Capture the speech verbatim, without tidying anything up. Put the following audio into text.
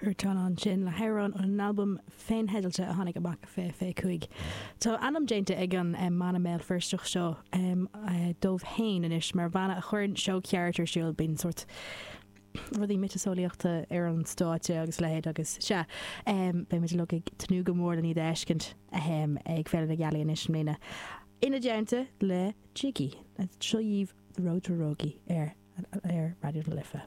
Huartan ansin le hamhrán ón albam féintheidealta a tháinig amach fiche fiche cúig. Tá ainm déanta ag an mbanna Béal Feirsteach seo dóibh féin anois mar bhanna a chuireann seó ceart ar siúl bíonn sórt rudaí miotaseolaíochta ar an stáitse agus leithéid agus sea beidh muid uilig ag tnúth go mór lena iad a fheiscint ag Féile na Gealaí anois i mbliana. Ina dteannta le Jiggy. Seo dhaoibh The Road to Rogie ar ar Raidió na Life.